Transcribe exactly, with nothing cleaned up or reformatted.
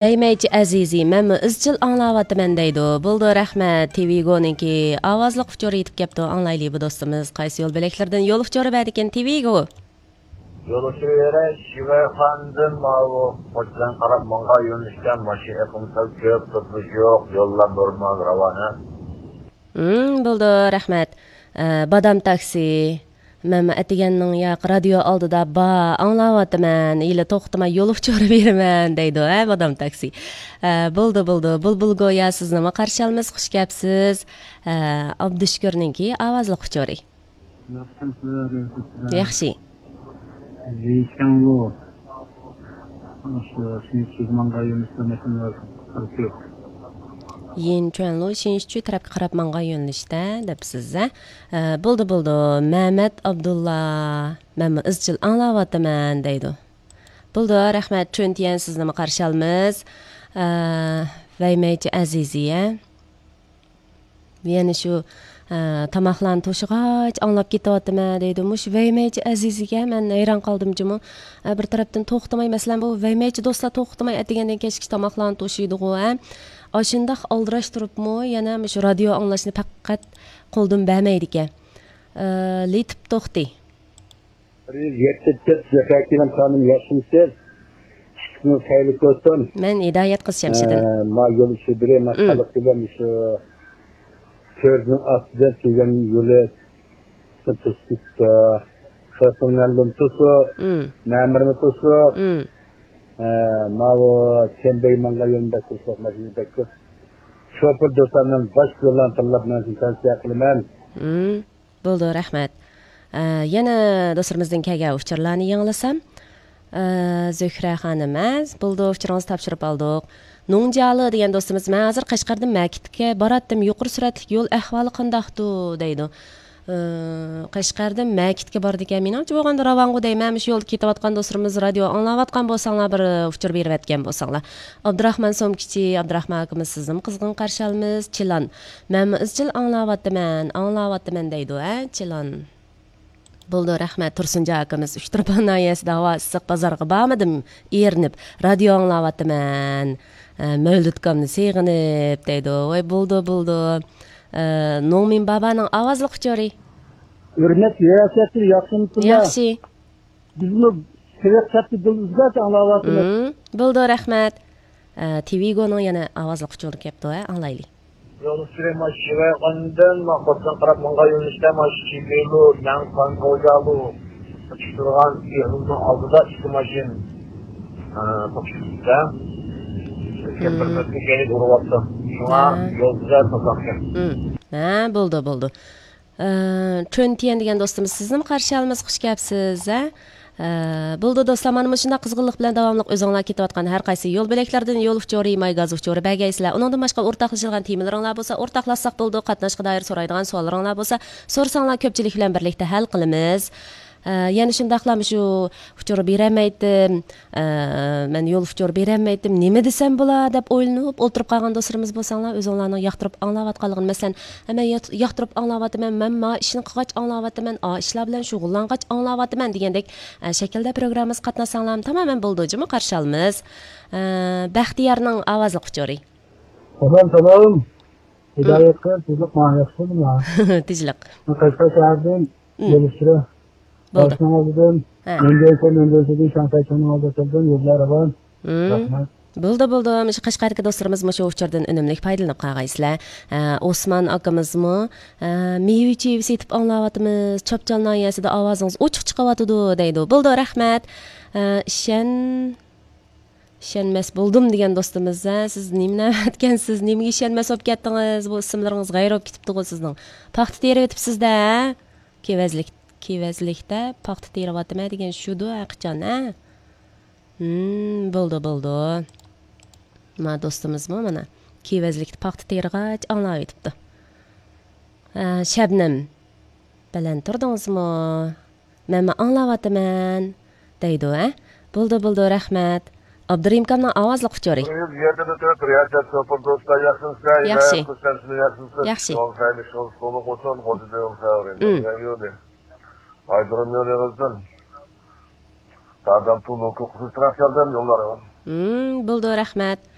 ۋەيمەيچى ئەزىزى، مەنمۇ ئىزچىل ئاڭلاۋاتىمەن دەيدۇ. بولدى، رەھمەت. تىۋىگونىڭكى ئاۋازلىق ئۇچۇرى يېتىپ كەپتۇ. ئاڭلايلى، بۇ دوستىمىز قايسى يول بۆلەكلىرىدىن يول ئۇچۇرى بەردىكىن؟ تىۋىگو. يول ئۇچۇرى بېرەي، شىۋەيخاندىن ماۋۇ قوچىدىن قاراپ ماڭغان يۆنىلىشتە ماشىنا ئېقىمى سەل كۆپ، توسۇلۇش يوق، يوللار نورمال، راۋان. ھىم، بولدى، رەھمەت. ئە، بادام تاكسى. مەنمۇ ئەتىگەننىڭ ياق رادىيو ئالدىدا بار، ئاڭلاۋاتىمەن، ھېلى توختىماي يول ئۇچۇرى بېرىمەن دەيدۇ، ھە، بادام تاكسى. ئە، بولدى، بولدى. بۇلبۇل گويا سىزنىمۇ قارشى ئالىمىز، خۇش كەپسىز. ئە، ئابدۇشۈكۈرنىڭكى ئاۋازلىق ئۇچۇرى. ياخشىمسىلەر، ياخشىمسىلەر؟ ياخشى. يىنچۈەنلۇ، شۇ، شىنچۈ ماڭغان يۆنىلىشتە ماشىنىلار قىلىپ يۈرۈپ. يىنچۈەنلۇ، شىنچۈ تەرەپكە قاراپ ماڭغان يۆنىلىشتە دەپسىز، ھە؟ ئە، بولدى، بولدى. مەمەت ئابدۇللا، مەنمۇ ئىزچىل ئاڭلاۋاتىمەن دەيدۇ. بولدى، رەھمەت. چۈنتيەن سىزنىمۇ قارشى ئالىمىز. ئە، ۋەيمەيچى ئەزىزىيە. يەنە شۇ، ئە، تاماقلارنى توشۇغاچ ئاڭلاپ كېتىۋاتىمەن دەيدۇ. مۇشۇ ۋەيمەيچى ئەزىزگە مەن ھەيران قالدىم جۇمۇ. ئە، بىر تەرەپتىن توختىماي، مەسىلەن، بۇ ۋەيمەيچى دوستلار توختىماي ئەتىگەندىن كەچكىچە تاماقلارنى توشۇيدىغۇ، ھە؟ ئاشۇنداق ئالدىراش تۇرۇپمۇ يەنە مۇشۇ رادىيو ئاڭلاشنى پەقەت قولدىن بەرمەيدىكەن. ئە، لېتىپ توختى. بىر يۈز يەتتە تۆت زەپەركىنىم خانىم، ياخشىمسىز؟ ئىشىڭىز خەيرلىك بولسۇن. مەن ھىدايەت قىز شەمشىدىن. ئە، ما يول ئىشى بىرى، ما مم. خەلق بىلەن شۇ كۆزنىڭ ئاستىدىن كەلگەن يولى توسۇپ، خەلقنىڭ توسۇپ، مم. مەمۇرنى توسۇپ، مم. ئە، ماۋۇ چەمبەي ماڭغان يولنى بەك توسۇپ، ماشىنا بەك كۆپ. شوپۇر دوستلارنىڭ باش يوللارنى تاللاپ، مەن سىزنى تەۋسىيە قىلىمەن. مم. بولدى، رەھمەت. ئە، يەنە دوستلىرىمىزدىن كەلگەن ئۇچۇرلارنى ياڭلىسام. ئە، زۆھرە خانىم، ئە، بولدى، ئۇچۇرىڭىزنى تاپشۇرۇپ ئالدۇق. نۇڭجيالى دېگەن دوستىمىز، مەن ھازىر قەشقەردىن مەكىتكە باراتتىم، يۇقىرى سۈرئەتلىك يول ئەھۋالى قانداقتۇ دەيدۇ. ئە، قەشقەردىن مەكىتكە بارىدىكەن. مېنىڭچە بولغاندا راۋانغۇ دەيمەن، مۇشۇ يولدا كېتىۋاتقان دوستلىرىمىز رادىيو ئاڭلاۋاتقان بولساڭلار، بىر ئۇچۇر بېرىۋەتكەن بولساڭلار. ئابدۇراخمان سومكىچى، ئابدۇراخمان ئاكىمىز، سىزنىمۇ قىزغىن قارشى ئالىمىز. چىلان. مەنمۇ ئىزچىل ئاڭلاۋاتىمەن، ئاڭلاۋاتىمەن دەيدۇ، ھە، چىلان. بولدى، رەھمەت. تۇرسۇنجان ئاكىمىز، ئۇچتۇرپان ناھىيەسىدە ھاۋا ئىسسىق، بازارغا بارمىدىم، ئېرىنىپ، رادىيو ئاڭلاۋاتىمەن. ئە، مەۋلۇت ئاكامنى سېغىنىپ دەيدۇ. ۋاي، بولدى، بولدى. ئە، نوڭمىن بابانىڭ ئاۋازلىق ئۇچۇرى. ھۆرمەتلىك رىياسەتچى، ياخشىمۇسىلەر؟ ياخشى. بىزمۇ سېۋەت سەپتە دىل ئۈزگەچ ئاڭلاۋاتىمىز. مم، بولدى، رەھمەت. ئە، تىۋىگونىڭ يەنە ئاۋازلىق ئۇچۇرى كەپتۇ، ھە، ئاڭلايلى. يول ئۈستىدە ماشىنا يۈرگەندىن، ما قوچىدىن قاراپ ماڭغان يۆنىلىشتە ماشىنا چېكىلىدۇ، مەن قانغا ئويالۇ. ئۇچۇپ تۇرغان ئېغىزنىڭ ئالدىدا ئىككى ماشىنا، ئە، توقۇشۇپ كېتىپتۇ. كەمپىرمەسكە كەينىگە ئۇرۇۋاپتۇ. شۇڭا ھە. يول گۈزەل توساقكەن. مم. ھە، بولدى، بولدى. ئە، چۈنتيەن دېگەن دوستىمىز، سىزنىمۇ قارشى ئالىمىز، خۇش كەپسىز، ھە؟ ئە، بولدى دوستلار، مانا مۇشۇنداق قىزغىنلىق بىلەن داۋاملىق ئۆزۈڭلار كېتىۋاتقان ھەر قايسى يول بۆلەكلىرىدىن يول ئۇچۇرى، ماي گاز ئۇچۇرى بەرگەيسىلەر. ئۇنىڭدىن باشقا ئورتاقلىشىدىغان تېمىلىرىڭلار بولسا، ئورتاقلاشساق بولىدۇ. قاتناشقا دائىر سورايدىغان سوئاللىرىڭلار بولسا، سورىساڭلار كۆپچىلىك بىلەن بىرلىكتە ھەل قىلىمىز. ئە، يەنە شۇنداقلا مۇشۇ ئۇچۇر بېرەلمەيتتىم، ئە، مەن يول ئۇچۇر بېرەلمەيتتىم، نېمە دېسەم بولا دەپ ئويلىنىپ ئولتۇرۇپ قالغان دوستلىرىمىز بولساڭلار، ئۆزۈڭلارنىڭ ياقتۇرۇپ ئاڭلاۋاتقانلىقىنى، مەسىلەن، ھە، مەن يات-، ياقتۇرۇپ ئاڭلاۋاتىمەن، مەن ما ئىشنى قىلغاچ ئاڭلاۋاتىمەن، ئا ئىشلار بىلەن شۇغۇللانغاچ ئاڭلاۋاتىمەن دېگەندەك، ئە، شەكىلدە پروگراممىمىزغا قاتناشساڭلار تامامەن بولىدۇ، جۇمۇ قارشى ئالىمىز. ئە، بەختىيارنىڭ ئاۋازلىق ئۇچۇرى. سالام، سالام. ھىدايەت قىز، تىزلىق ماڭا ياخشىمۇ؟ تىزلىق. قەشقەر شەھەردىن مم. يول ئۈستىدە. بولدى. باشنىڭ ئالدىدىن، ھە. مەندەنسە، مەندەنسىدىن شاڭخەي چوڭنىڭ ئالدىدا تۇردۇم، يوللار راۋان. مم. رەھمەت. بولدى، بولدى. مۇشۇ قەشقەردىكى دوستلىرىمىز مۇشۇ ئۇچۇردىن ئۈنۈملۈك پايدىلىنىپ قالغايسىلەر. ھە، ئوسمان ئاكىمىزمۇ، ھە، مېۋە چېۋە سېتىپ ئاڭلاۋاتىمىز، چاپچال ناھىيەسىدە ئاۋازىڭىز ئوچۇق چىقىۋاتىدۇ دەيدۇ. بولدى، رەھمەت. ھە، ئىشەن ئىشەنمەس بولدۇم دېگەن دوستىمىز، ھە، سىز نېمە نەۋەتكەنسىز، نېمىگە ئىشەنمەس بولۇپ كەتتىڭىز؟ بۇ ئىسىملىرىڭىز غەيرىي بولۇپ كېتىپتىغۇ سىزنىڭ. پاختا تېرىۋېتىپسىز-دە، ھە؟ كېۋەزلىك، كېۋەزلىكتە پاختا تېرىۋاتىمەن دېگەن شۇدۇ، ھە، قاچان، ھە؟ ھىم، بولدى، بولدى. ما دوستىمىزمۇ مانا كېۋەزلىكتە پاختا تېرىغاچ ئاڭلاۋېتىپتۇ. ھە، شەبنەم، بەلەن تۇردىڭىزمۇ؟ مەنمۇ ئاڭلاۋاتىمەن، دەيدۇ، ھە؟ بولدى، بولدى، رەھمەت. ئابدۇرېھىم ئاكامنىڭ ئاۋازلىق ئۇچۇرى. بىر يۈز يەتتە تۆت رىياسەت شوپۇر دوستلار، ياخشىمۇسىلەر؟ ياخشى. ھىدايەت قىز شەمشىدىن، ياخشىمۇسىز؟ ياخشى. يول خەيرلىك، يول سولۇق بولسۇن، غوجىدا يول خەۋىرى. مم. يول يولى. ئايدۇرۇم يول ئېغىزدىن. دادام تۇلۇ كوكۇسى تىراق كەلدىم، يوللار. ھىم، بولىدۇ، رەھمەت.